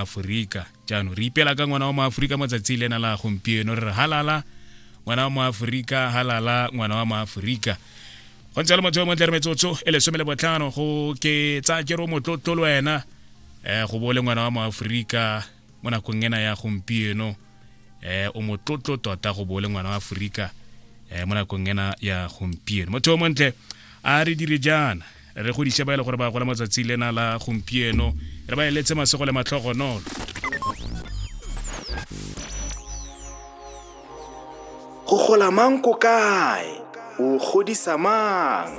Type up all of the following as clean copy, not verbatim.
Aforika. Jaanong re ipela ka ngwana wa moaforika matsatsi lena la gompieno, re re halala ngwana wa moaforika, halala ngwana wa moaforika. Go ntse le motho yo montle, re metsotso e 15 go ke tsa ke ro motlotlo le wena go bo le ngwana wa moaforika mo nakong ena ya gompieno. O motlotlo tota go bo le ngwana wa Aforika mo nakong ena ya gompieno. Motho yo montle, a re dire jaana, re godise ba e le gore ba gola matsatsi lena la gompieno, re ba eletse masego le matlhogonolo. Go gola mang ko kae? O godisa mang?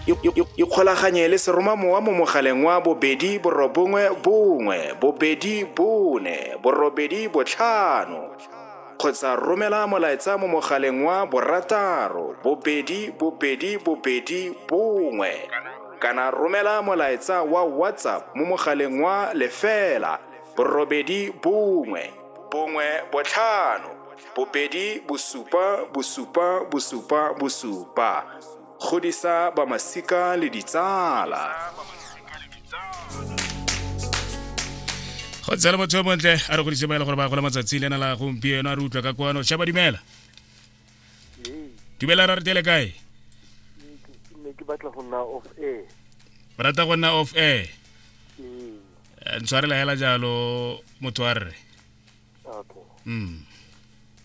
Ikgolaganye le seromamowa mo mogaleng wa 2 9 1 2 4 8 5 kgotsa romela molaetsa mo mogaleng wa 6 2 2 2 1 kana romela molaetsa wa WhatsApp mo mogaleng wa 0 8 1 1 5 2 7 7 7 7. Godisa ba masika le ditsala. Go tsela motho yo montle, a re godise ba e le gore ba gola matsatsi lena la gompieno. A re utlwa ka kwano. Shaba, dumela. Dumela, ra re tele kae? Ne ke batla go nna off air. Ba rata go nna off air. Ntshwarela hela jalo, motho wa rre. Okay.